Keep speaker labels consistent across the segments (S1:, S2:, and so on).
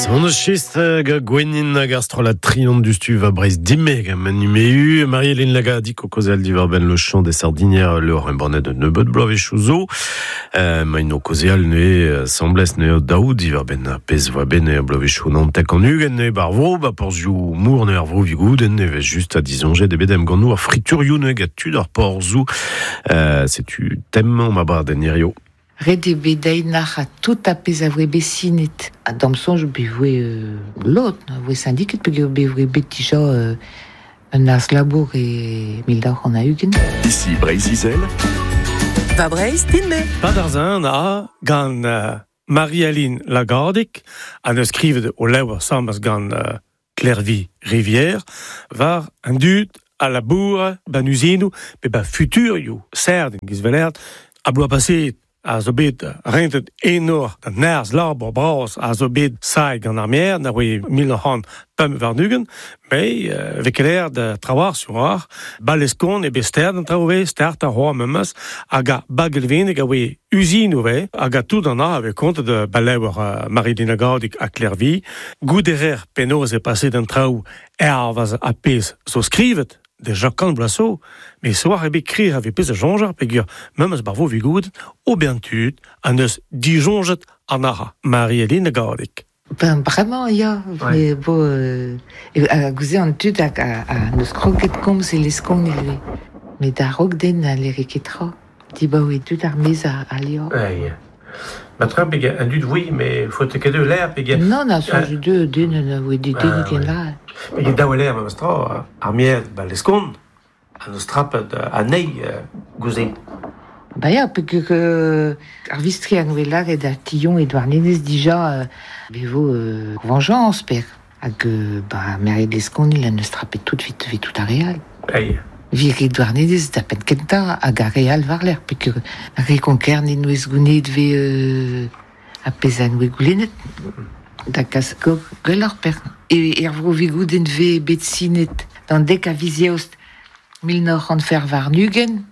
S1: On eus chist ga Gwenin hag ar strollad Trion du va Breizh Dime gant Manu Marie-Hélène Lagadic o kaozeal diwar-benn Le Chant des Sardinières levr embannet un nebeud bloavezhioù zo. Maint o kaozeal neuze asambles neuze daou diwar-benn ar pezh voa bet neuze bloavezhioù 99 neuze bar vro ba porzhioù mor neuze ar vro Vigoudenn neuze just ha disoñjet eo bet emgannoù ar friturioù neuze gant tud ar porzhoù. Setu tem ma abadenn hirio.
S2: Ret eo bet dezhi nac'hañ tout ar pezh a voe bet sinet. Ha d'am soñj bet voe lod, a voe syndiket peogwir bet voe bet dija un harz-labour e 1920.
S3: Ici Breizh-Izel.
S4: Va Breizh din-me.
S5: Padarzan a gant Marie-Aline Lagardic ha neus skrivet o levr asambles gant Klervi Rivière war an dud a laboura ban uzinoù pe ba futurioù serdin giz velert a bloaz paseet a zo bet rentet enor da nerzh labour bras a zo bet sailh gant ar maer na voe 1925 mais vez ket l'air da trawar sur ar baleskon e bet stert an traoù vez stert ar c'hoar memes hag ar bagelveneg a voe uzinoù vez hag a tout an a vez kontet baleur Marie-Lina Gaudic ha Klervi gouderer penaos e paset an traoù hervez ar pezh zo skrivet de Jacques Blasso, met soar ebet krir a vez pezh a soñjer peogwir memes bar vo vigoud ober an tud an eus disoñjet an ara Marie-Hélène Gaudic.
S2: Ben bremañ ya, ouais. bo a gouze an tud hag a neus kroget komz e leskon ivez. Met a-raok den a lere ket tra. Dibaoe dud ar maez a levr.
S5: Ouais. Ma tra pegen an dud oui, mais faut ket eu l'air pegen.
S2: Non, na soñj deu den a voe dedennet ken la.
S5: Pegen daou l'air memes tra, ar mier ba leskon, an eus trapet anezhi gouze.
S2: Ba ya, peogwir ar vistri a noe lâret da Tillon e Douarnenez dija be vo vengeance, per. Hag ba merc'hed Leskonil en deus trapet tout vit, vit tout ar re all.
S5: Ei.
S2: Vir e Douarnenez da penn kentañ hag ar re all war-lerc'h peogwir ar re Konkerne n'oez gounezet vez ar pezh a noe goulennet da kas gwelloc'h per. E er vro Vigoudenn vez bet sinet d'an dek a viz Eost 1924,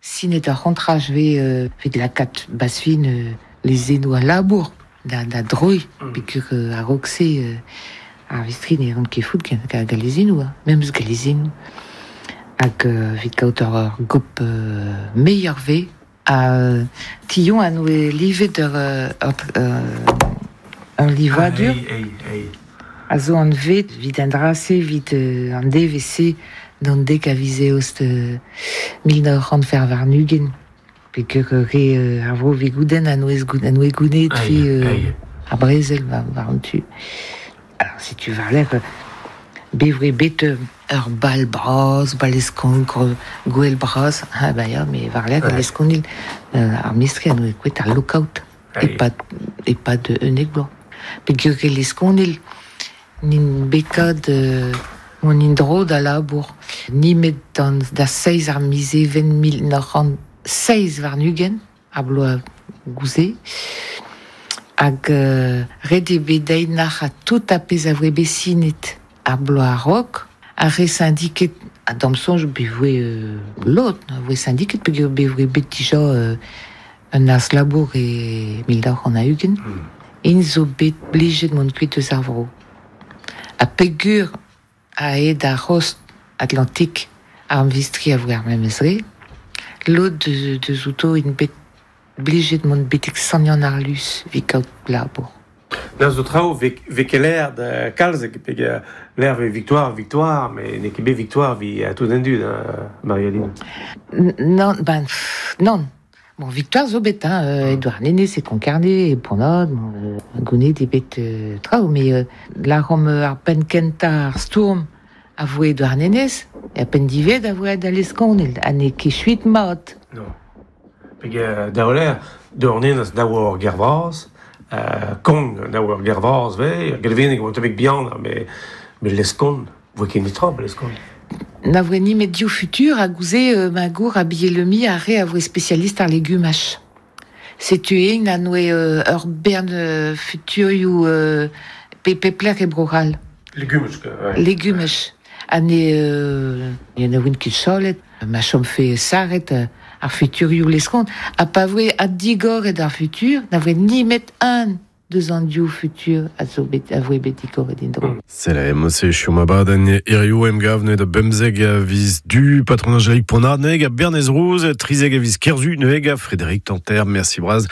S2: sinet ar c'hontraj vez evit lakaat bazfin lezennoù al labour da, da droiñ peogwir a-raok-se ar vistri ne ran ket fout gant gant lezennoù, hein, memes gant lezennoù. Hag evit kaout ur gop meilleur vez ha Tillon a noe livet ur, ur, ur livadur
S5: Ei, ei, ei.
S2: a zo anvet evit an dra-se, evit an devezh-se d'an dek a viz Eost 1924. Peogwir re ar vro Vigoudenn a noe a noe gounezet
S5: Ei, ei.
S2: ar brezel war, war an tu. Alors setu war-lerc'h bet bet ur bal bras, bal eskon, gouel bras, ha ba ya, mais war-lerc'h
S5: Ouais.
S2: leskonil ar mistri a noe kouet ar lockout
S5: Ei.
S2: e-pad e-pad unnek bloaz. Peogwir e leskonil n'int bet kat mont en-dro da labour nemet d'an da seizh ar miz Even 1927 ar bloaz gouze. Hag ret eo bet dezhi nac'hañ tout ar pezh a voe bet sinet ar bloaz a-raok. Ar re syndiket, ha d'am soñj bet voe lod a voe syndiket peogwir bet voe bet dija un harz-labour e 1920. Int zo bet blijet mont kuit eus ar vro. Ha peogwir aet ar c'host Atlantik ar vistri a voe ar memes re, lod deus outo int bet blijet mont betek Sant-Yann-ar-Luz evit kaout labour.
S5: Da zo traoù vez ket l'air da kalz pe l'air vez victoire, victoire, mais n'eo ket bet victoire vi tout an dud, Marie-Aline.
S2: Non, ben, pff, non. Bon, victoire zo bet, hein, Edouard Nenez e Konkarne, e Pont-Aven, bon, gounezet eo bet traoù, mais lâromp ar penn kentañ ar stourm a voe Edouard Nenez, e ar penn diwezhañ a voe da Leskonil, ha n'eo ket chuit mat.
S5: Non. Peg daoler, Douarnenez daou ur ger vras, Kong daou ur ger vras vez, Gelveneg oa tammig bihan, mais mais Leskon, voe ket netra ba Leskon.
S2: Na voe nemet div futur hag gouze ma gour a Bielemi ar re a voe spesialist ar legumaj. Setu eñ a noe ur bern futurioù pe pep lec'h e Bro-C'hall.
S5: Legumaj, ouais.
S2: Legumaj. Ha ne ne voent ket chalet, ma chomfe sarret ar futurioù leskont. Ha pa voe addigoret ar futur, na voe nemet un deus an div futur a zo bet a voe bet digoret en-dro.
S1: Sell, emañ-se chom abadenn hiziv emgav neuze da bemzek a viz Du, patron Angélique Ponard neuze, Bernez Rouz, trizek a viz Kerzu neuze, Frédéric Tanter, merci bras.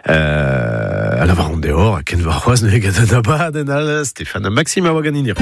S1: A lavaran deoc'h, ha ken warc'hoazh neuze gant an abadenn all, Stéphane ha Maxime a oa ganin.